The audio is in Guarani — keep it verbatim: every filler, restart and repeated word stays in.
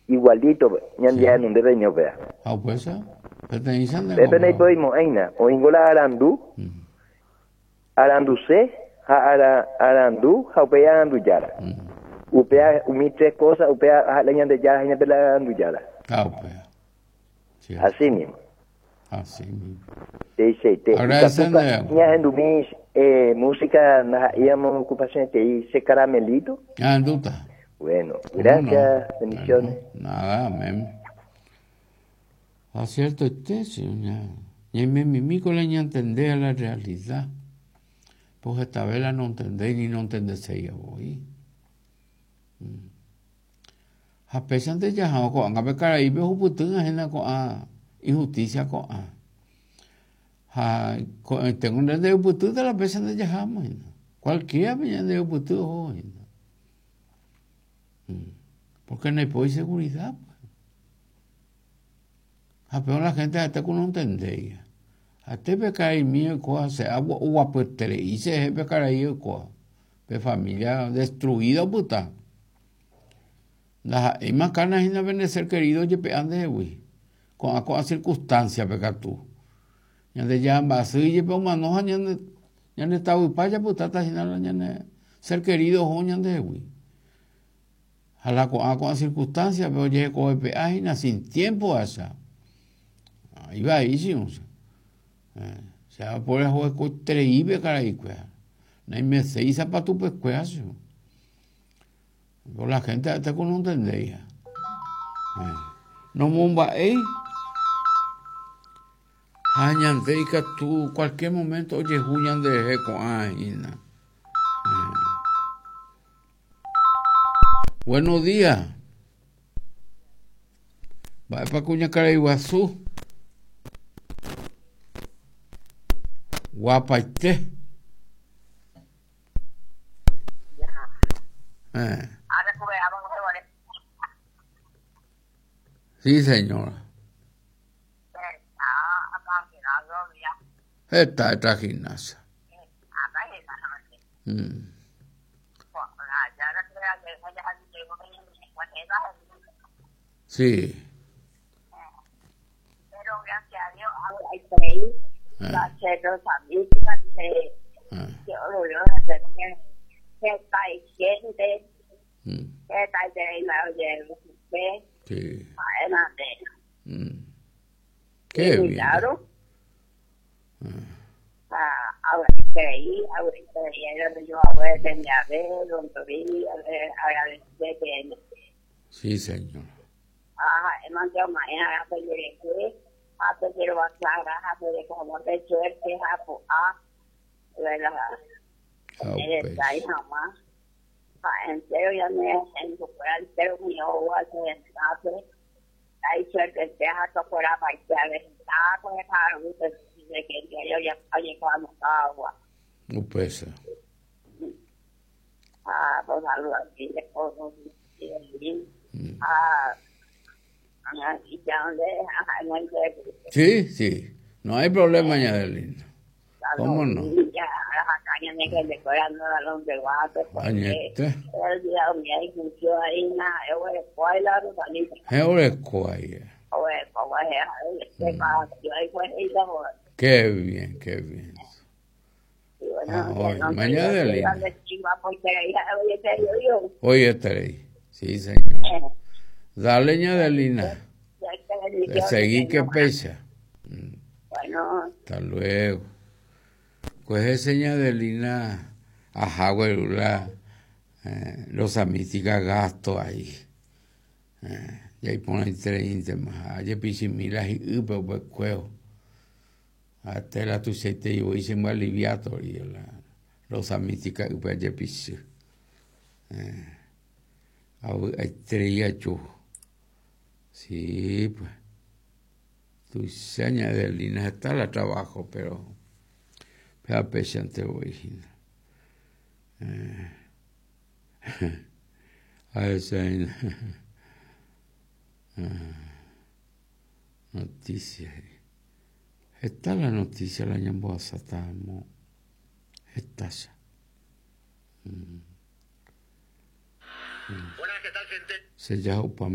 Igualito, ñande nunde peño pea. Ha upéicha peteĩcha nde Pepe naipoimo'ãina, oĩngo la arandu, aranduse ha ara, arandu ha upéi arandujára. Upéa umi tres cosas, upéa la Ñandejára hína pe la arandujára. Ha upéa. Cierto. Así mismo. Así mismo. Seiseite. Agradece ndéve. Ñahendumi eh, música ndaha'éiamo ocupación che caramelito. Ñahendúta. Bueno, ¿Cómo gracias, no? bendiciones. Bueno, nada, amén. Ah, cierto este, sí, ña, ñaimemimi con la ñantende a la realidad. Pues esta vez la no entendéis ni no entendeséis voi. Mm. Ha péichante jaha ko'ág̃a pe karaípe ohupyty hína ko'ã injusticia ko'ã. Ha ko'ẽtengo nde la péichante jaháma hína. Cualquiera pe ñandejupyty oho hína. Mm. Porque no hay seguridad. Pues. Ha peor la gente ha'ete ku no entendéi. Ha'ete pe karaimi oikóva che oguapyeterei chejehe pe karai oikóva. Pe familia destruida opyta. Ndaha'éima kana hína pende ser querido jepe'a ndehegui. Ko'ã ko'ã circunstancia pe katu. Ñandejára mba'asy jepe omano ha ñande ñande tavypa japytáta hína la ñane ser querido oho ñandehegui. Ha la ko'ã ko'ã circunstancia pe ojehekovepe'a hína sin tiempo acha. Ivai chi'ũcha. Che poriahuvekoiterei pe karaikuéra. Naimeséi isapatupekuéra chi'ũ. Por la gente ha'ete ku no entendéi. Nomomba'éi ha ñande ikatu cualquier momento ojehu ñanderehe ko'ã hína. Buenos días. Mba'épa kuñakarai guasu. Guapaite. Eh. Sí, señora. Esta esta gimnasia. Mm. Sí. Pero gracias a Dios, hay creí, Ah. Mm. Sí. Mm. Qué bien. Claro. Ah. Sí, señor. Ah, pues. Upéicha. Mm. Sí, sí. No hay problema, doña Adelina. ¿Cómo no? Añete. Qué bien, qué bien. Ah, hoy, mañana Adelina. Hoy estaré. Sí, señor. Dale, doña Adelina. De seguir que pesa. Hasta luego. Pues ese Adelina, ajá, güerula, eh, los amística gasto ahí. Eh, y ahí pone tres más. Ayer pichimila y upe upe cueo. Hasta la tu se te yo hice muy aliviado y la los amística upe ayer pichi. Eh, hay tres chu. Sí, pues. Tu seña Adelina está la trabajo, pero pero pechante voy. Eh, a veces noticia. Está la noticia la ñamboasa estamos. Está ya. Mm. Buenas, ¿qué tal, gente? Se llama